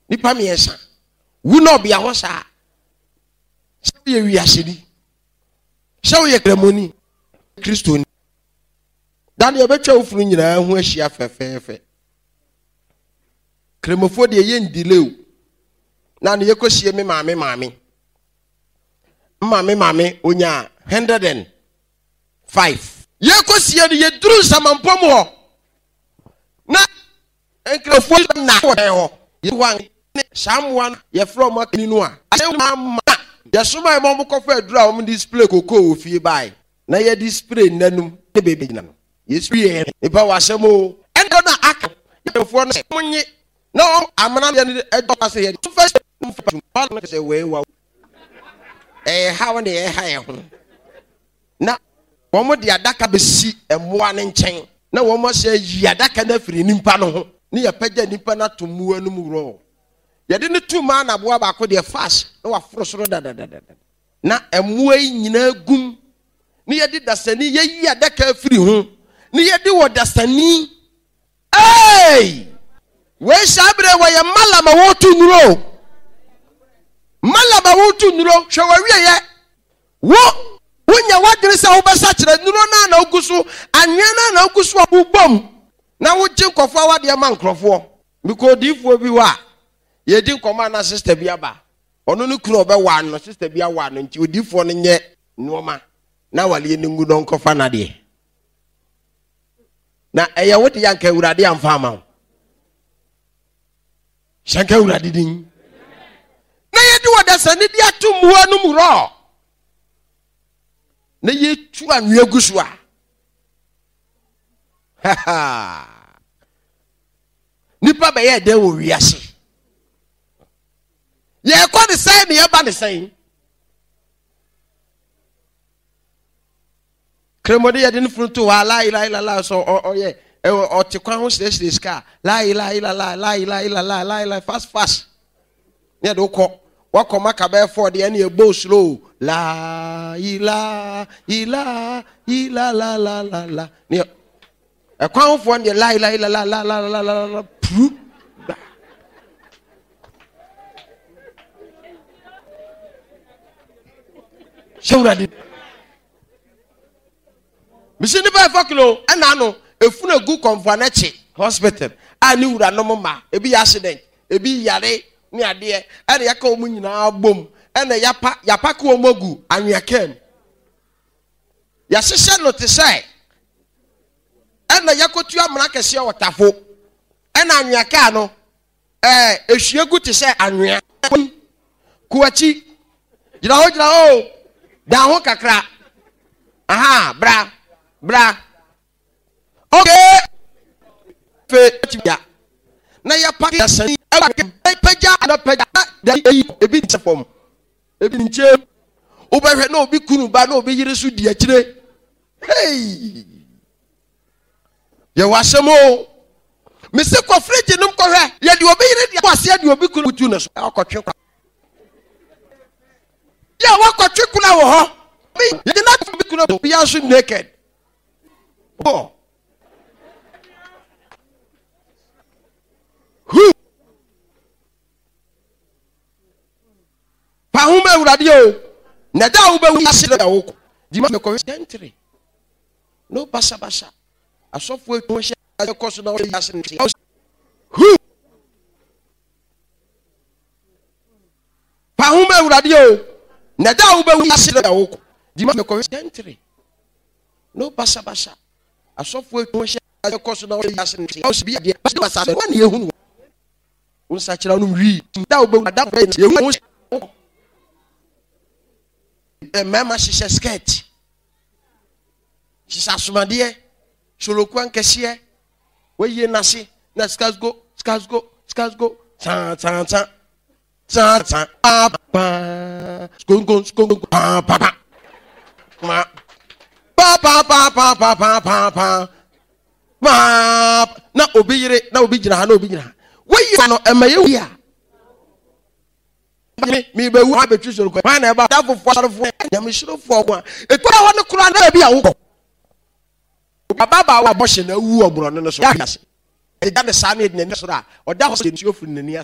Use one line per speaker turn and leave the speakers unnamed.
Nipa mmiɛnsa. Wu na ɔbea hɔ saa. Sɛ woyɛ wiaseni, sɛ woyɛ kramoni, Kristoni. Da no yɛbɛtwa wo funu nyinaa ho ahyia fɛfɛɛfɛ. Kramofoɔ deɛ yɛ ndile o. Na no yɛkɔsie me maame maame. Maame maame onyaa 105. Yɛkɔsie no yɛduru nsamampɔ mu hɔ. Na nkramofoɔ na wɔ dan hɔ. Yɛhɔ ne saa mmoa no yɛfrɛ wɔn akani no a. Ama yɛsomae ma wɔkɔfa aduru a wɔde spray kokoo wɔ fie bae. Na yɛde spray nnanum ne baabi gyina no. Yesu yɛ nipa wɔ asɛm o. Ɛna na aka yɛfoɔ no sɛ wɔn nye na wɔn amena yɛ no ɛdɔ ase yɛ de fa mfa no sɛ wei wa ɛyɛ ha wɔn de ɛha yɛ ho na wɔn de adaka bɛsi mmoa no nkyɛn na wɔn ahyɛ yi adaka no afiri nipa no ho ne yɛpɛgya nipa no ato mmoa no mu worɔ yɛde no tu maa na aboa baako deɛ fast na waforo soro dadadada Na mmoa yi nyinaa gum, ne yɛde dasani yɛyi adaka afiri ho, ne yɛde wɔ dasani. Hey! Wei saa berɛ wɔyɛ malam a wɔretu nnuro. Malam a wɔretu nnuro, hwɛ wɔawieɛ. Wo, wonya w'adwene sɛ wobɛsakyera nnuro no a na wogu so, anwea no a na wogu so a wobom, na wogye nkurɔfoɔ awadeɛ ma nkurɔfoɔ. Mekɔ odiyifoɔ bi hɔ a, yɛdi nkɔmmɔ a na sista bi aba. Ɔno ne kunu a ɔbɛwaa no, sista bi awaa no nti odiifoɔ no nyɛ nneɛma na awaleɛ no ngu na ɔnkɔfa n'adeɛ. Na ɛyɛ wo deɛ anka Awurade amfa ama wo. Hyɛ nka Awurade din. Na yɛde ɔdasani de ato mmoa no mu rɔ. Na yɛtu anwea gu so a. Nipa bɛyɛ dɛn wɔ wiase? Yɛkɔ ne sɛn ne yɛba ne sɛn. Kremode yɛde ne funu to hɔ a laa ilaa ilaa sɛ ɔyɛ ɔte kwan ho srɛsrɛ sika laa ilaa ilaa laa ilaa ilaa laa ilaa fast fast ne yɛde wokɔ wakɔ maka bɛyɛ fɔɔ deɛ ɛne ɛbɔ slow laa ilaa ilaa ilaa la la la la ne Ɛkwan hofoɔ no deɛ lai lai la la la la la la la puru. Hyɛ wurade. Mesi nipa ɛfɔ kilo ɛna ano efunu egu kɔnfɔ anakyi hospital a ne wura nom ma ebi yɛ accident ebi yare ne adeɛ ɛna yɛka wɔn nyinaa bom ɛna yapa yapa ko wɔn agu anwea kɛm. Yɛahyehyɛ no te sɛ ɛna yɛakɔtu amena kɛseɛ wɔ tafo, ɛna anwea kaa no ɛɛ ehwie gu te sɛ anwea. Kɔ akyi, gyina hɔ gyina hɔ o, dan ho kakra. Aha, bra, bra. Okay. Fe ya. Na yɛpa yɛsɛn pagya na pagya da eyi ebi nkyɛ fam. Ebi nkyɛn mu. Wobɛhwɛ na obi kunu ba na obi yere so di akyire. Hey! Yɛwɔ asɛm o. Mese kɔ fridge nom kɔhwɛ. Yɛde obi yere de aseɛ de obi kunu tu ne so. Akɔtwe kwa. Yɛ wakɔtwe kuna wɔ hɔ. Yɛde na obi kunu obi nso naked. Oh. Who? Pa ho ma Awurade o. Na da a wobɛwu ase na wokɔ. Di ma mekɔhwɛ gentry. No basabasa. Asɔfo atwa ho hyɛ kɔ so na wɔyɛ ase nti. Hu! Pa ho ma Awurade o. Na da a wobɛwu ase na wokɔ. Di ma mekɔhwɛ gentry. No basabasa. Asɔfo atwa ho hyɛ kɔ so na wɔyɛ ase nti. Bi adeɛ basabasa. Wɔn na ehunu. Wo nsakyera nom wii. Da wobɛwu ada yɛhu ho mmarima hyehyɛ skirt hyehyɛ asomadeɛ soloku ankɛseɛ wɔyie n'ase na skasgo skasgo skasgo san san san san san paa paa skonko skonko paa paa paa paa paa paa paa paa paa paa paa paa na obi yere na obi gyina ha na obi gyina ha woyi no ɛma yɛ wi a me mebɛwu abɛtwi soro kɔ hwan na ɛba dafofoɔ asɔrefoɔ nyamesurofoɔ ho a ɛtu hɔ no koraa na baabi a wokɔ ababaawa bɔhyɛ na awu ɔborɔno no so ase ɛgya ne saa ne ɛde n'ani soro a ɔda hɔ sɛ nsuo firi n'ani ase.